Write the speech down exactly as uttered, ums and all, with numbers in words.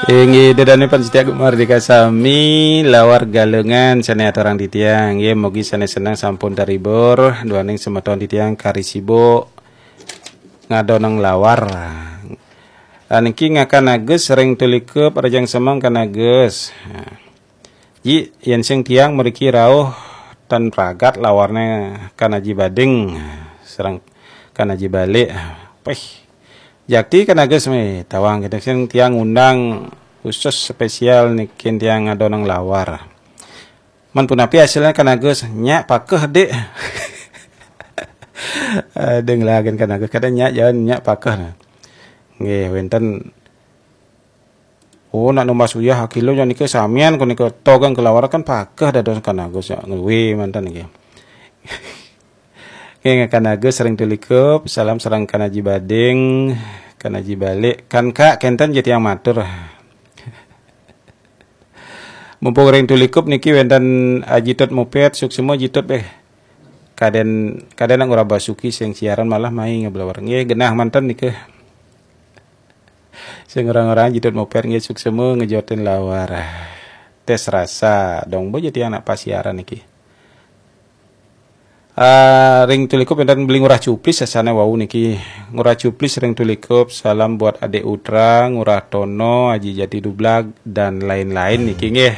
Inggih, ida dané pamiarsa Gema Merdeka sami, Lawar Galungan sané aturang titiang. Nggih, mugi sané seneng sampun terhibur, duaning semeton titiang kari sibuk ngadonang lawar. Ah, niki ngakan Agus ring Tulikup, rahajeng semeng Kan Agus. Nah. Ji, yén sing tiang mriki rauh tan pragat lawarné Kan Aji Bading sareng Kan Aji Balik. Pih. Jakti Kan Agus mé tawang kita sing tiang ngundang khusus spesial niki tiang ngadonang lawar. Men punapi hasilnya Kan Agus, nyak pakeh, Dik. Ada ngelagen Kan Agus, kada nyak jalan nyak pakeh. Nah. Nggih, wénten Oh, nak numbas uyah kilo nya nika samian ku nika togang kelawar kan pakeh dados Kan Agus nya ngeluwi manten niki. Nggih, Kan Agus ring Tulikup, salam sareng Kan Aji Bading, Kan Aji Balik, Kan Kak, kénten ja tiang matur. Mumpung ring Tulikup niki wénten Aji Tut Mupet, suksma Ji Tut, eh. Kadén, kadén nak ngurah basuki sing siaran malah mai ngeblawar. Nggih, genah manten nika. Sing orang-orang Ji Tut Mupet nggih suksma ngejotin lawar. Tes rasa, dong bo ja tiang nak pasiaran niki. Ah, ring Tulikup wénten Beli Ngurah Cuplis sasané wau niki. Ngurah Cuplis ring Tulikup, salam buat Adik Utra, Ngurah Tono, Aji Jati Dublag, dan lain-lain niki nggih.